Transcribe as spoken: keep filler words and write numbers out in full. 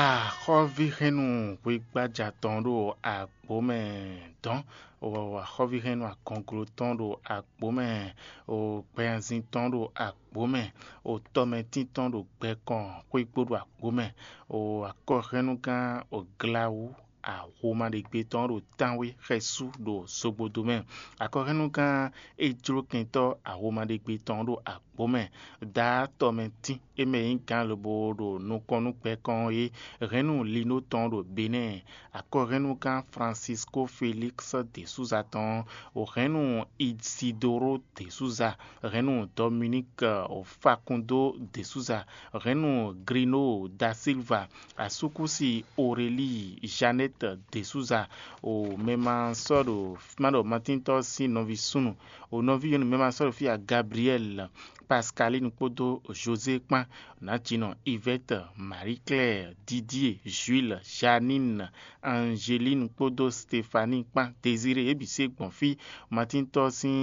Axɔ́víhɛ́nnu hwígbája tɔn ɖo agbǒ mɛ dɔn, axɔ́víhɛ́nnu agɔnglo tɔn ɖo agbǒ mɛ, gbɛhanzin tɔn ɖo agbǒ mɛ, tɔmɛtín tɔn ɖo gbɛkɔn xwígbó ɖo agbǒ mɛ, akɔhɛ́nnugán Glawú ahomaɖegbe tɔn ɖo tánwé xɛsú ɖo zogbodo mɛ. Akɔhɛ́nnugán ejlókɛntɔ́ ahomaɖegbe tɔn ɖo agbǒ mɛ. Daá tɔmɛtín e mɛ nyí gǎn lobo ɖo nukɔn nú gbɛkɔn ɔ́ é, hɛ̌nnu Linó tɔn ɖo Benɛ́ɛ, akɔhɛ́nnugán Francisco Félix de Souza tɔn, hɛ̌nnu Isidoro de Souza, hɛ̌nnu Dominique Facundo de Souza, hɛ̌nnu Grino da Silva, asúkúsi Aurélie Jeannette de Souza, o mɛ ma sɔ́ ɖo má ɖɔ Matíntɔ́ sín nɔví súnnu, o nɔví nyɔ̌nu mɛ ma sɔ́ ɖo fí a Gabriel, Pascaline kpódó José kpán, nǎjínɔ Yvette, Marie Claire, Didier, Jules, Janine, Angeline kpódó Stéphanie kpán, Désiré, yě bǐ se gbɔn fí. Matíntɔ́ sín